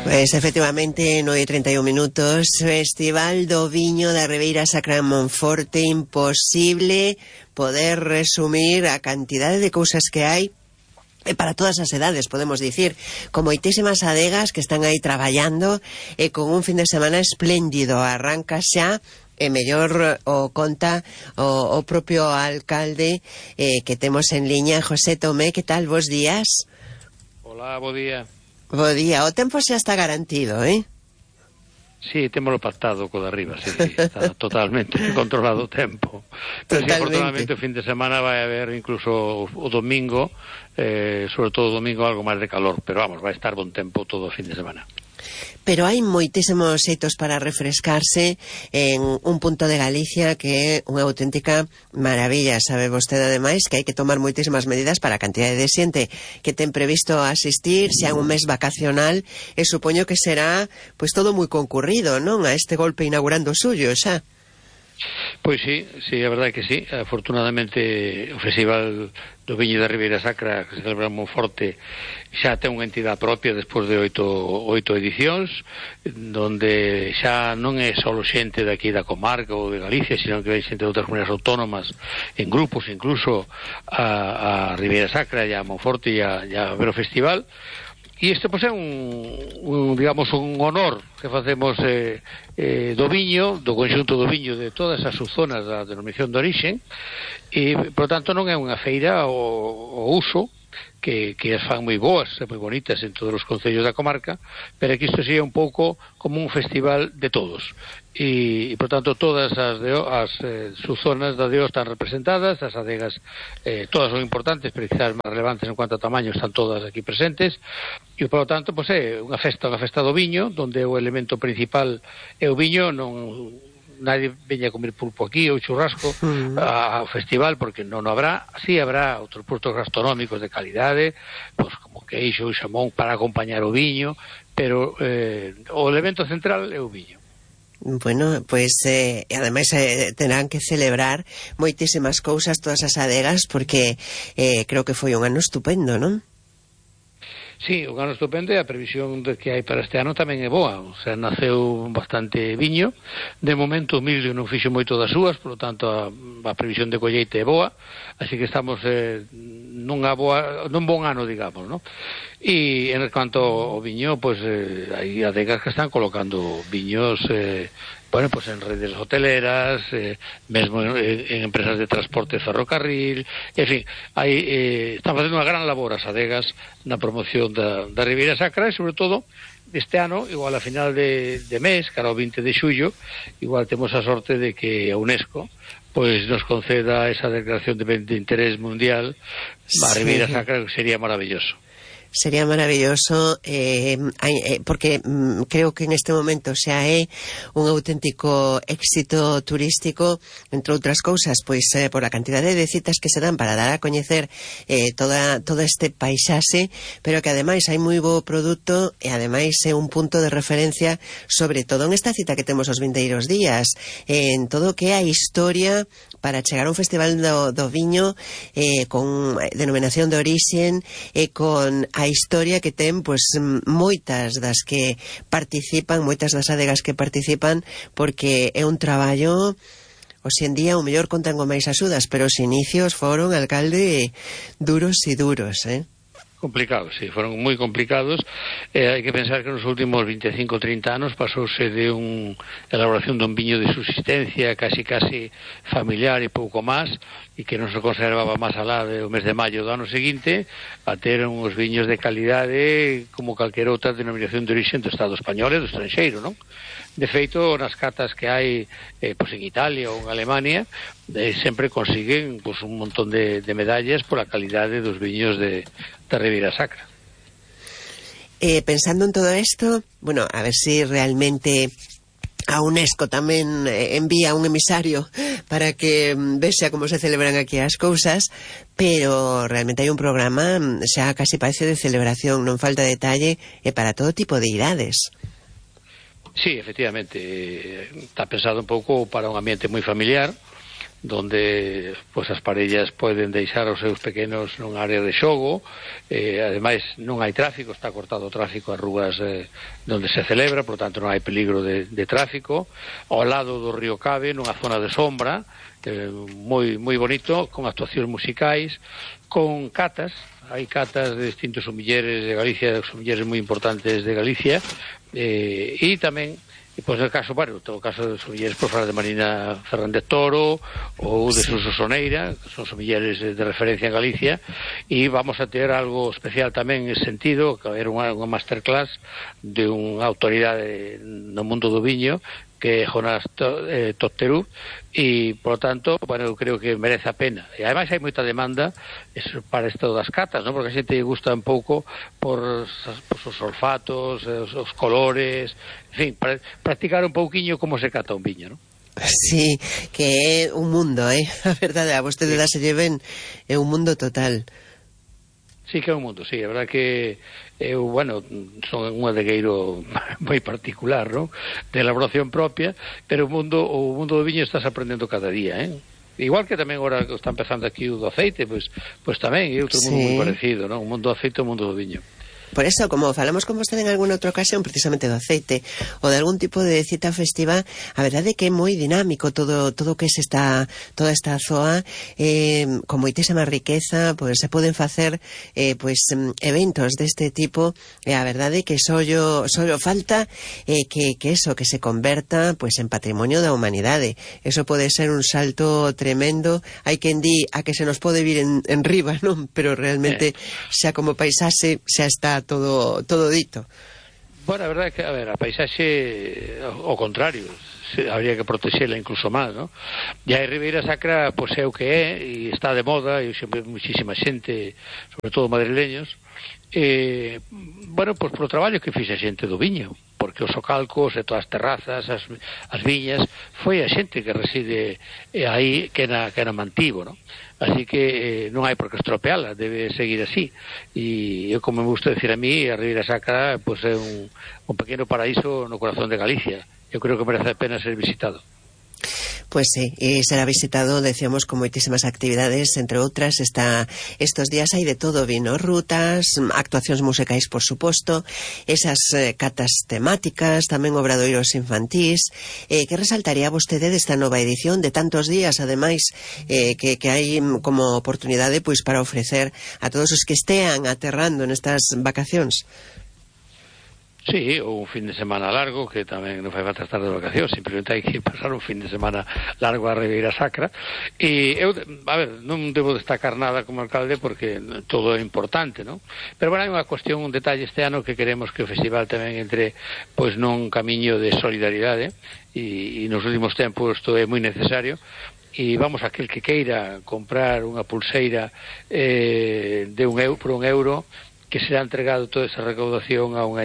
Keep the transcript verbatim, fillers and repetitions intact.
Pois, efectivamente, nove e trinta e un minutos, Festival do Viño da Ribeira Sacra en Monforte. Imposible poder resumir a cantidade de cousas que hai, e para todas as edades, podemos dicir, con moitísimas adegas que están aí traballando, e con un fin de semana espléndido. Arranca xa, e mellor o conta o, o propio alcalde eh, que temos en liña, José Tomé. Que tal, bos días? Hola, bo día. Bo día, o tempo xa está garantido, eh? Sí, témolo pactado co de arriba, sí, está totalmente controlado o tempo. Pero sí, afortunadamente o fin de semana vai haber incluso o domingo, eh, sobre todo o domingo algo máis de calor, pero vamos, vai estar bon tempo todo o fin de semana. Pero hai moitísimos xeitos para refrescarse en un punto de Galicia que é unha auténtica maravilla. Sabe vostede, ademais, que hai que tomar moitísimas medidas para a cantidade de xente que ten previsto asistir, xa un mes vacacional, e supoño que será pois todo moi concurrido, non? A este golpe inaugurando o suyo, xa. Pois sí, sí, a verdade que sí. Afortunadamente o Festival do Viño da Ribeira Sacra, que se celebra en Monforte, xa ten unha entidade propia despois de oito, oito edicións, donde xa non é só xente daqui da comarca ou de Galicia, sino que ven xente de outras comunidades autónomas, en grupos incluso, a, a Ribeira Sacra e a Monforte e a, e a ver o festival. E isto pois é un, un digamos un honor que facemos eh, eh, do viño, do conxunto do viño de todas as subzonas da denominación de orixe, e por tanto non é unha feira o, o uso que, que as fan moi boas e moi bonitas en todos os concellos da comarca, pero que isto sería un pouco como un festival de todos. E, e por tanto todas as, de, as eh, subzonas da D O están representadas, as adegas eh, todas son importantes, pero quizás máis relevantes en cuanto a tamaño están todas aquí presentes, e por tanto pois é unha festa, unha festa do viño, donde o elemento principal é o viño. Non nadie veña a comer pulpo aquí ou churrasco uh-huh. ao festival, porque non habrá. Sí habrá outros produtos gastronómicos de calidade, pois como queixo e xamón para acompañar o viño, pero eh, o elemento central é o viño. Bueno, pois, eh, ademais eh, terán que celebrar moitísimas cousas todas as adegas, porque eh, creo que foi un ano estupendo, non? Sí, un ano estupendo, e a previsión de que hai para este ano tamén é boa. O sea, naceu bastante viño. De momento o millo non fixo moito das súas, por lo tanto a, a previsión de colleite é boa, así que estamos eh, nunha boa, nun bon ano, digamos, ¿no? E en cuanto ao viño, pois eh, hai adegas que están colocando viños eh, bueno, pues en redes hoteleras, eh, mesmo en, en empresas de transporte ferrocarril, en fin, hai, eh, están facendo unha gran labor as adegas na promoción da, da Ribeira Sacra, e sobre todo este ano, igual a final de, de mes, cara ao vinte de xullo, igual temos a sorte de que a UNESCO pois nos conceda esa declaración de, de interés mundial a Ribeira Sacra, que sería maravilloso. Sería maravilloso, eh, eh, porque mm, creo que en este momento xa é un auténtico éxito turístico, entre outras cousas, pois eh, por a cantidade de citas que se dan para dar a coñecer eh, toda, todo este paisaxe, pero que ademais hai moi bo produto, e ademais é un punto de referencia, sobre todo en esta cita que temos os vindeiros días, en todo o que é a historia para chegar a un festival do, do viño eh, con denominación de orixen e con a historia que ten, pois, moitas das que participan, moitas das adegas que participan, porque é un traballo, hoxe en día, o mellor contan con máis axudas, pero os inicios foron, alcalde, duros e duros, eh? Complicados, sí, foron moi complicados. Eh, hai que pensar que nos últimos veinticinco, trinta anos pasouse de un elaboración dun viño de subsistencia casi casi familiar e pouco máis, e que non se conservaba máis alá do mes de maio do ano seguinte, a ter uns viños de calidade como calquera outra denominación de origen do Estado español e do estranxeiro, non? De feito, nas catas que hai eh, pois en Italia ou en Alemania, eh, sempre consiguen pois, un montón de, de medallas pola calidade dos viños de, da Ribeira Sacra. Eh, pensando en todo isto, bueno, a ver si realmente a UNESCO tamén eh, envía un emisario para que mm, vexa como se celebran aquí as cousas, pero realmente hai un programa xa casi parece de celebración, non falta detalle, e para todo tipo de idades. Sí, efectivamente, está pensado un pouco para un ambiente moi familiar, donde pois as parellas poden deixar os seus pequenos nun área de xogo, eh, ademais non hai tráfico, está cortado o tráfico as rúas eh, onde se celebra, por tanto non hai peligro de, de tráfico, ao lado do río Cabe, nunha zona de sombra, eh, moi, moi bonito, con actuacións musicais, con catas, hai catas de distintos sumilleres de Galicia, sumilleres moi importantes de Galicia, eh, e tamén e pois no caso, bueno, no caso de sumilleres por falar de Marina Fernández Toro ou de Suso Soneira, que son sumilleres de referencia en Galicia, e vamos a ter algo especial tamén en ese sentido, que era unha, unha masterclass de unha autoridade no mundo do viño, que é Jonás eh, Totterú, e, por lo tanto, bueno, eu creo que merece a pena. E, ademais, hai moita demanda eso, para isto das catas, ¿no? Porque a xente gusta un pouco por, por os olfatos, os, os colores, en fin, para practicar un pouquiño como se cata un viño, ¿no? Sí, que é un mundo, eh? A verdade, a vostede sí. Dáselle ben, é un mundo total. Sí que é un mundo, sí, a verdade que eu, bueno, son un adegueiro moi particular, non? De elaboración propia, pero o mundo o mundo do viño estás aprendendo cada día, eh? Igual que tamén agora que está empezando aquí o do aceite, pois pues, pues tamén é outro mundo sí. moi parecido, non? O mundo do aceite e o mundo do viño. Por eso, como falamos con vostede en alguna outra ocasión precisamente do aceite ou de algún tipo de cita festiva, a verdade é que é moi dinámico todo todo que se está toda esta zoa, eh, con moitísima riqueza, pois se poden facer eh, pois eventos deste tipo, e a verdade é que só só falta eh, que, que eso, que se converta pois en patrimonio da humanidade. Eso pode ser un salto tremendo. Hai quen di a que se nos pode vir en, en riba, non? Pero realmente xa como paisaxe xa está todo todo dito. Bueno, a verdade é que, a ver, a paisaxe ao contrario, se, habría que protexela incluso máis, ¿no? E a Ribeira Sacra, pois é o que é, e está de moda, e sempre muchísima xente, sobre todo madrileños, eh, bueno, pois por o traballo que fixe a xente do viño, porque os socalcos e todas as terrazas, as, as viñas, foi a xente que reside aí, que na, que na mantivo, ¿no? Así que eh, non hai por que estropeala, debe seguir así. E eu, como me gusta decir a mí, a Ribeira Sacra pues, é un, un pequeno paraíso no corazón de Galicia. Eu creo que merece a pena ser visitado. Pues sí, y será visitado, decíamos, con moitísimas actividades, entre outras, está estos días hai de todo, vino, rutas, actuacións musicais, por suposto, esas eh, catas temáticas, tamén obradoiros infantís. Eh, que resaltaría vostede desta nova edición de tantos días, ademais, eh, que, que hai como oportunidade pois para ofrecer a todos os que estean aterrando nestas vacacións? Sí, ou un fin de semana largo, que tamén non fai falta estar de vacacións, simplemente hai que pasar un fin de semana largo a Ribeira Sacra. E eu, a ver, non debo destacar nada como alcalde porque todo é importante, non? Pero, bueno, hai unha cuestión, un detalle este ano que queremos que o festival tamén entre pois nun camiño de solidaridade e, e nos últimos tempos isto é moi necesario. E vamos, aquel que queira comprar unha pulseira eh, de un euro, por un euro, que será entregado toda esa recaudación a unha